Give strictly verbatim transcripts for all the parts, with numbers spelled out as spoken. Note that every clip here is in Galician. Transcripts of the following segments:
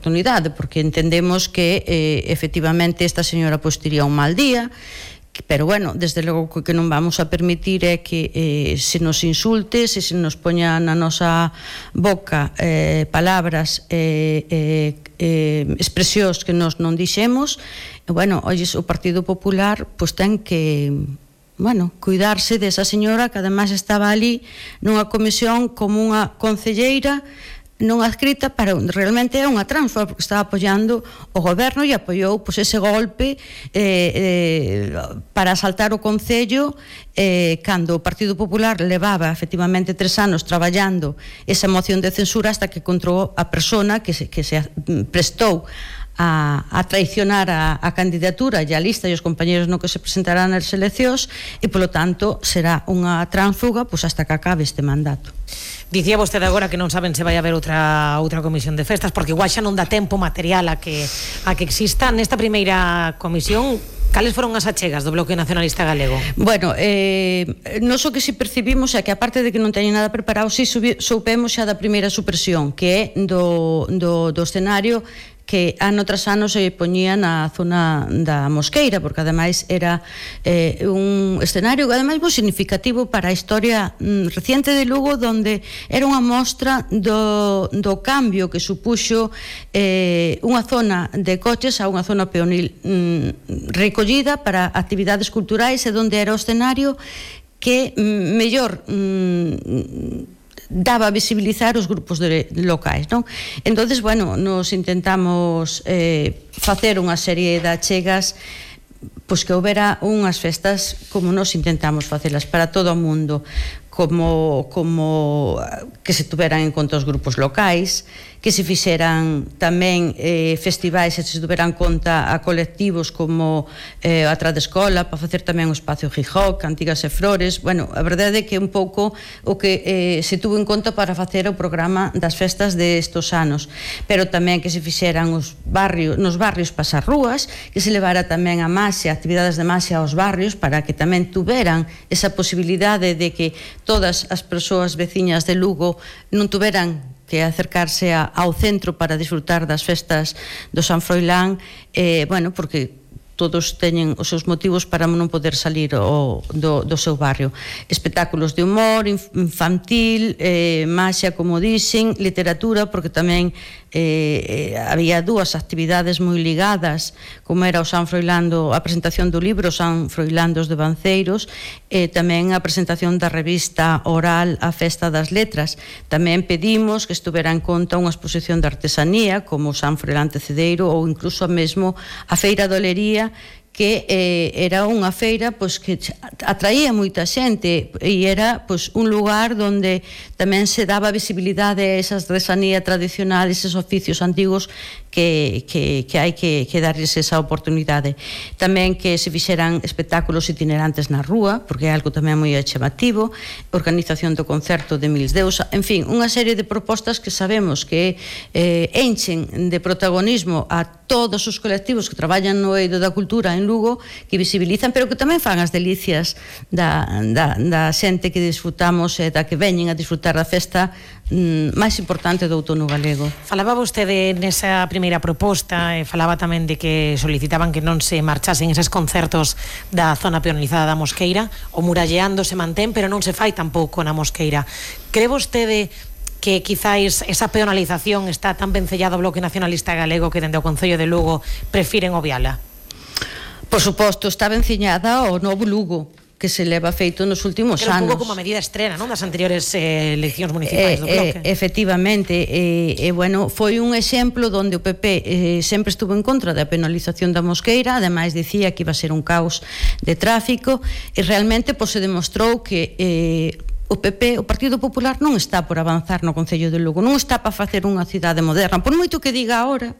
oportunidade, porque entendemos que eh, efectivamente esta señora pois tiría un mal día, pero bueno, desde logo que non vamos a permitir é que eh, se nos insulte, se se nos poña na nosa boca eh, palabras eh, eh, eh, expresións que nos non dixemos. E bueno, olles, o Partido Popular pois ten que, bueno, cuidarse desa señora que ademais estaba ali nunha comisión como unha concelleira non adscrita, para realmente é unha transfa, porque estaba apoiando o goberno e apoiou pois, ese golpe eh, eh, para asaltar o Concello eh, cando o Partido Popular levaba efectivamente tres anos traballando esa moción de censura hasta que encontrou a persona que se, que se prestou a, a traicionar a, a candidatura e a lista e os compañeros no que se presentarán nas eleccións, e polo tanto será unha tránsfuga pois, hasta que acabe este mandato. Dicía vostede agora que non saben se vai haber outra outra comisión de festas, porque igual xa non dá tempo material a que a que exista. Nesta primeira comisión, cales foron as achegas do Bloque Nacionalista Galego? Bueno, eh, non só que si percibimos é que aparte de que non teñen nada preparado, si soupemos xa da primeira supresión, que é do, do, do escenario que ano tras ano se poñía na zona da Mosqueira, porque ademais era eh, un escenario ademais moi significativo para a historia mm, reciente de Lugo, donde era unha mostra do, do cambio que supuxo eh, unha zona de coches a unha zona peonil mm, recollida para actividades culturais, e donde era o escenario que mm, mellor mm, daba a visibilizar os grupos de locais, non? Entonces, bueno, nos intentamos eh, facer unha serie de achegas pois que houbera unhas festas como nos intentamos facelas para todo o mundo, como, como que se tuveran en conta os grupos locais, que se fixeran tamén eh, festivais e se tuveran conta a colectivos como eh, a Tradescola, para facer tamén o espacio Gijó, Cantigas e Flores. Bueno, a verdade é que un pouco o que eh, se tuvo en conta para facer o programa das festas de estos anos, pero tamén que se fixeran os barrios, nos barrios pasas rúas, que se levara tamén a maxia, actividades de maxia aos barrios, para que tamén tuveran esa posibilidade de que todas as persoas veciñas de Lugo non tuveran que acercarse a, ao centro para disfrutar das festas do San Froilán, eh, bueno, porque todos teñen os seus motivos para non poder salir o, do, do seu barrio. Espectáculos de humor, infantil, eh, maxia, como dixen, literatura, porque tamén eh, había dúas actividades moi ligadas, como era o San Froilán, a presentación do libro San Froilán dos Devanceiros, e tamén a presentación da revista oral A Festa das Letras. Tamén pedimos que estuvera en conta unha exposición de artesanía, como o San Froilán Tecedeiro, ou incluso mesmo a Feira de Olería, que eh, era unha feira pois, que atraía moita xente, e era pois, un lugar onde tamén se daba visibilidade a esa artesanía tradicional, eses oficios antigos que, que, que hai que, que darles esa oportunidade. Tamén que se fixeran espectáculos itinerantes na rúa, porque é algo tamén moi chamativo, organización do concerto de Mils Deus, en fin, unha serie de propostas que sabemos que eh, enchen de protagonismo a todos os colectivos que traballan no eido da cultura en Lugo, que visibilizan, pero que tamén fan as delicias da, da, da xente que disfrutamos e da que veñen a disfrutar da festa mm, máis importante do outono galego. Falaba vostede nesa primeira proposta, e falaba tamén de que solicitaban que non se marchasen eses concertos da zona peonizada da Mosqueira. O muralleando se mantén, pero non se fai tampouco na Mosqueira. Cree vostede que quizáis esa peonalización está tan vencellado ao Bloque Nacionalista Galego que dende o Concello de Lugo prefiren obviala? Por suposto, está venciñada ao novo Lugo, que se leva feito nos últimos anos. Era un anos. pouco como a medida estrena, non, das anteriores eh, eleccións municipais eh, do Bloque. Eh, efectivamente, e eh, eh, bueno, foi un exemplo onde o P P eh, sempre estuvo en contra da penalización da Mosqueira, ademais dicía que iba a ser un caos de tráfico, e realmente pois, se demostrou que eh, o P P, o Partido Popular, non está por avanzar no Concello de Lugo, non está para facer unha cidade moderna, por moito que diga agora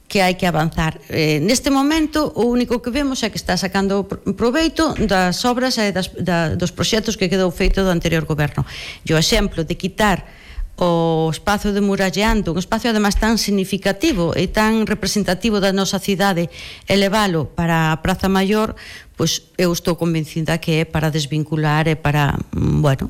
que hai que avanzar. Eh, neste momento, o único que vemos é que está sacando proveito das obras e das, da, dos proxectos que quedou feito do anterior goberno. E o exemplo de quitar o espazo de Muralleando, un espazo además tan significativo e tan representativo da nosa cidade, elevalo para a Praza Maior, pois eu estou convencida que é para desvincular e para, bueno,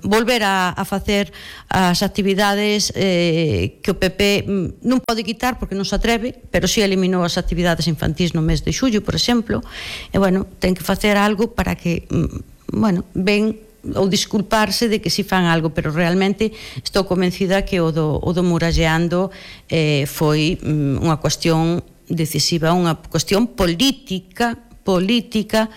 volver a, a facer as actividades eh, que o P P non pode quitar porque non se atreve, pero si eliminou as actividades infantís no mes de xullo, por exemplo, e, bueno, ten que facer algo para que, bueno, ven ou disculparse de que si fan algo, pero realmente estou convencida que o do, o do Muralleando eh, foi mm, unha cuestión decisiva, unha cuestión política política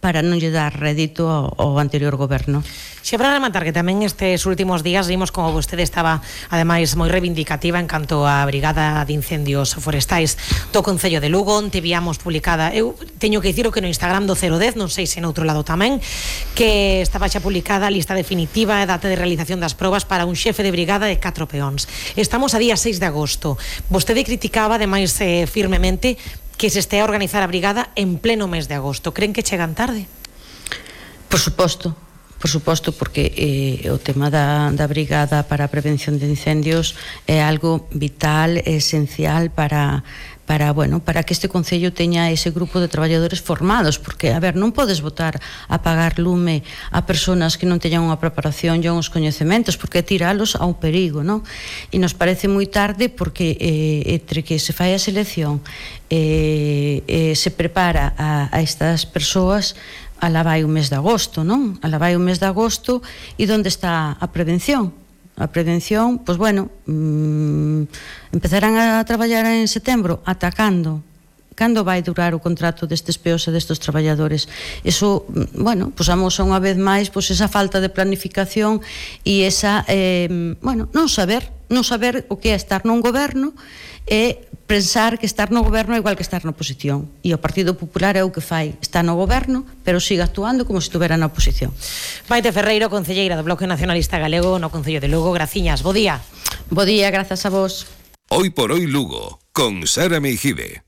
para non lle dar rédito ao, ao anterior goberno. Xe para rematar que tamén estes últimos días vimos como vostede estaba ademais moi reivindicativa en canto á Brigada de Incendios Forestais do Concello de Lugo, onte víamos publicada, eu teño que dicir que no Instagram do cero dez, non sei se en outro lado tamén, que estaba xa publicada a lista definitiva e data de realización das probas para un xefe de brigada de catro peóns. Estamos a día seis de agosto. Vostede criticaba ademais eh, firmemente que se estea a organizar a brigada en pleno mes de agosto. Creen que chegan tarde? Por suposto, por suposto, porque eh, o tema da, da brigada para a prevención de incendios é algo vital, esencial para para, bueno, para que este concello teña ese grupo de traballadores formados, porque, a ver, non podes botar a pagar lume a persoas que non teñan unha preparación e uns coñecementos, porque tiralos a un perigo, non? E nos parece moi tarde porque eh, entre que se fai a selección eh, eh, se prepara a, a estas persoas, alá vai o mes de agosto, non? Alá vai o mes de agosto, e onde está a prevención? A prevención, pois bueno, mmm, empezarán a traballar en setembro, atacando. Cando vai durar o contrato destes peos e destes traballadores? Eso, bueno, pois amosa unha vez máis pois esa falta de planificación e esa, eh, bueno, non saber, non saber o que é estar nun goberno e pensar que estar no goberno é igual que estar na oposición. E o Partido Popular é o que fai, está no goberno, pero sigue actuando como se estuvera na oposición. Maite Ferreiro, concelleira do Bloque Nacionalista Galego no Concello de Lugo. Graciñas, bo día. Bo día, grazas a vos. Hoy por hoy Lugo, con Sara Meijibe.